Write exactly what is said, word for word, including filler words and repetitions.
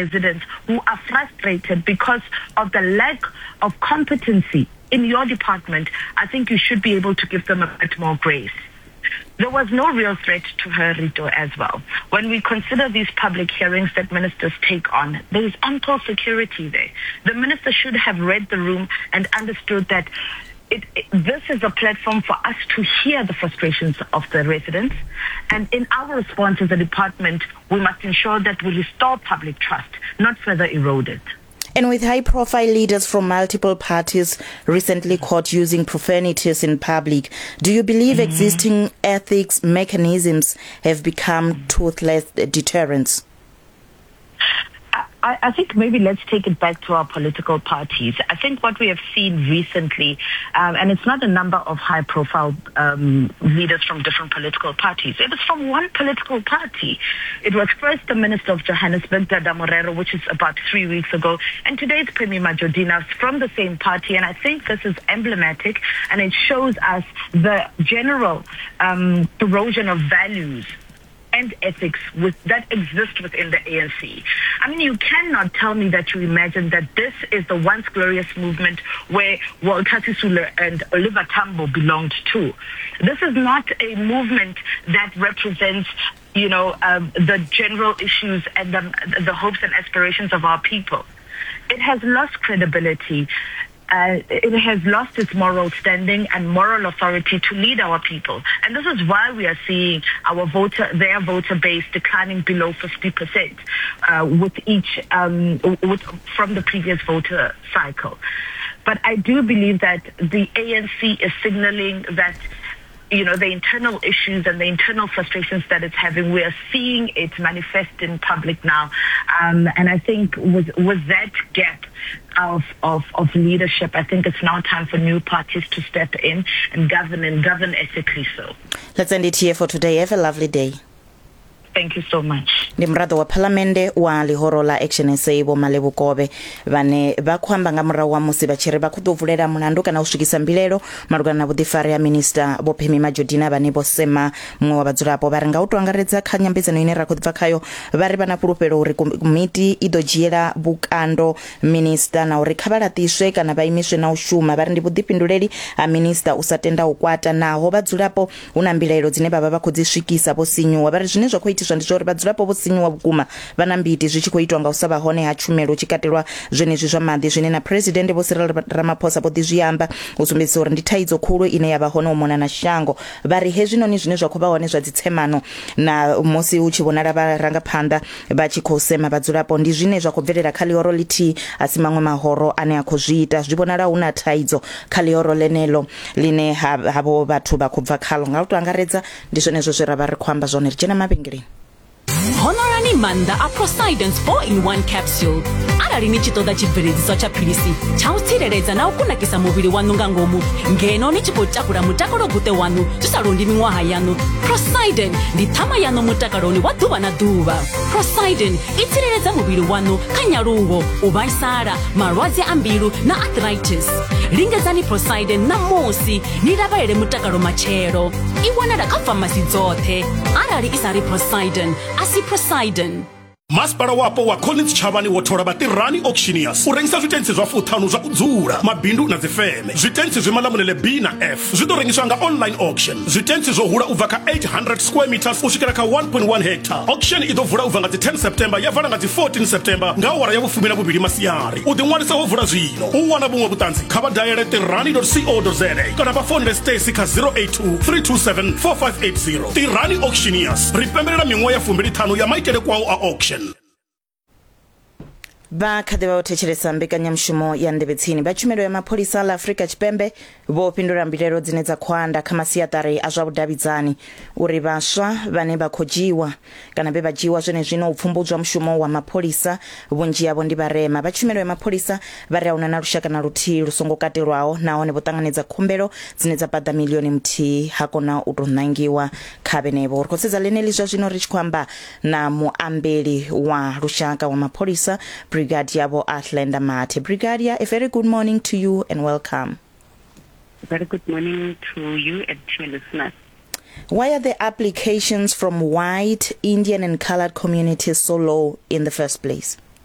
residents who are frustrated because of the lack of competency in your department, I think you should be able to give them a bit more grace. There was no real threat to her, Rito, as well. When we consider these public hearings that ministers take on, there is ample security there. The minister should have read the room and understood that it, it, this is a platform for us to hear the frustrations of the residents. And in our response as a department, we must ensure that we restore public trust, not further erode it. And with high-profile leaders from multiple parties recently caught using profanities in public, do you believe mm. existing ethics mechanisms have become toothless deterrents? I, I think maybe let's take it back to our political parties. I think what we have seen recently, um, and it's not a number of high-profile um, leaders from different political parties. It was from one political party. It was first the Minister of Johannesburg, Dada Morero, which is about three weeks ago, and today's Pemmy Majodina from the same party. And I think this is emblematic, and it shows us the general um, erosion of values and ethics with, that exist within the A N C. I mean, you cannot tell me that you imagine that this is the once glorious movement where Walter Sisulu and Oliver Tambo belonged to. This is not a movement that represents, you know, um, the general issues and the, the hopes and aspirations of our people. It has lost credibility. Uh, it has lost its moral standing and moral authority to lead our people. And this is why we are seeing our voter, their voter base declining below fifty percent, uh, with each, um, with, from the previous voter cycle. But I do believe that the A N C is signaling that, you know, the internal issues and the internal frustrations that it's having, we are seeing it manifest in public now. Um, and I think with, with that gap of, of, of leadership, I think it's now time for new parties to step in and govern, and govern ethically so. Let's end it here for today. Have a lovely day. Thank you so much. Ndi muraḓo wa phalamende wa ḽihoro ḽa Action S A Vho Malebo Khovhe vhane vha khou amba nga murahu ha musi vha tshi ri vha khou ḓo vulela mulandu kana u swikisa mbilaelo malugana na vhuḓifari ha minista Vho Pemmy Majodina vhane vho sema muṅwe wa vhadzulapo. Vha ri nga u tou angaredza kha nyambedzano ine ra khou bva khayo, vha ri vha na fhulufhelo uri komiti i ḓo dzhiela vhukando minista na uri kha vha laṱiswe kana vha imiswe na u shuma. Vha ri ndi vhuḓifhinduleli ha minista u sa tenda u kwata naho vhadzulapo hu na mbilaelo dzine vha vha vha khou dzi swikisa vho sinyuwa. Vha ri zwine zwa khou itiswa ndi zwa uri vhadzulapo vho sinyuwa vhukuma vha na mbiti zwi tshi khou itwa nga u sa vha hone ha tshumelo tshi katelwa zwenezwi zwa maḓi, zwine na president Vho Cyril Ramaphosa vho ḓi zwi amba u sumbedzisa uri ndi thaidzo khulu ine ya vha hone u mona na shango. Vha ri hezwinoni zwine zwa khou vha hone zwa dzitsemano na musi hu tshi vhonala vharangaphanḓa vha tshi khou sema vhadzulapo ndi zwine zwa khou bvelela kha ḽihoro ḽithihi, a si maṅwe mahoro ane a khou zwi ita. Zwi vhonala hu na thaidzo kha ḽihoro ḽenelo ḽine havho vhathu vha khou bva khalo. Nga u tou angaredza ndi zwenezwo zwe ra vha ri khou amba zwone. Ri dzhena mavhengeleni. Honorani maanḓa a Prosidence four in one capsule. Arali ni tshi ṱoḓa tshibveledziswa tsha philisi tsha u tsireledza na u kunakisa muvhili waṋu nga ngomu, ngeno ni tshi khou takula mutakalo guṱe waṋu zwi sa londi miṅwaha yaṋu, Prosiden ndi ṱhama yaṋu mutakaloni wa ḓuvha na ḓuvha. Prosiden i tsireledza muvhili waṋu kha nyaluwo, u vhaisala, malwadze a mbilu na arthritis. Lingedzani Prosiden ṋamusi ni lavhelele mutakalo matshelo. I wanala kha famasi dzoṱhe. Arali i sa ri Prosiden, a si Prosiden. Masipala wapo wa Collins Chavani wo thola vhatirani auctioneers u rengisa zwitentsi zwa fuṱhanu zwa u dzula, mabindu na dzifeme. Zwitentsi zwi malamulele B na F zwi ḓo rengiswa nga online auction. Zwitentsi zwo hula u bva kha eight hundred square meters u swikela kha one point one hectare. Auction i ḓo vula u bva nga dzi ten September ya vala nga dzi fourteen September nga awara ya vhufumi na vhuvhili masiari. U ḓiṅwalisa ho vula zwino. U wana vhuṅwe vhuṱanzi kha vha daele tirani dot co dot za kana vha founele Stacy kha zero eight two, three two seven, four five eight zero. Tirani Auctioneers ri pembelela miṅwaha ya fumbili ṱhanu ya maitele kwao a auction. Vha kha ḓi vha u thetshelesa mbekanyamushumo ya Nḓevhe Tsini. Vha tshumelo ya mapholisa ḽa Afrika Tshipembe vho fhindula mbilaelo dzine dza khou anda kha masiaṱari a zwa vhudavhidzani uri vhaswa vhane vha khou dzhiwa kana vhe vha dzhiwa zwenezwino u pfumbudzwa mushumo wa mapholisa vhunzhi havho ndi vharema. Vha tshumelo ya mapholisa vha ri ahuna na lushaka na luthihi lu songo katelwaho nahone vho ṱanganedza khumbelo dzine dza paḓa milioni muthihi ha kona u tou nangiwa kha vhenevho. Ri khou sedza ḽeneḽi zwa zwino ri tshi khou amba na muambeli wa lushaka wa mapholisa, Brigadier Bo Athlenda Mathe. Brigadier, a very good morning to you and welcome. Very good morning to you and to your listeners. Why are the applications from white, Indian and colored communities so low in the first place?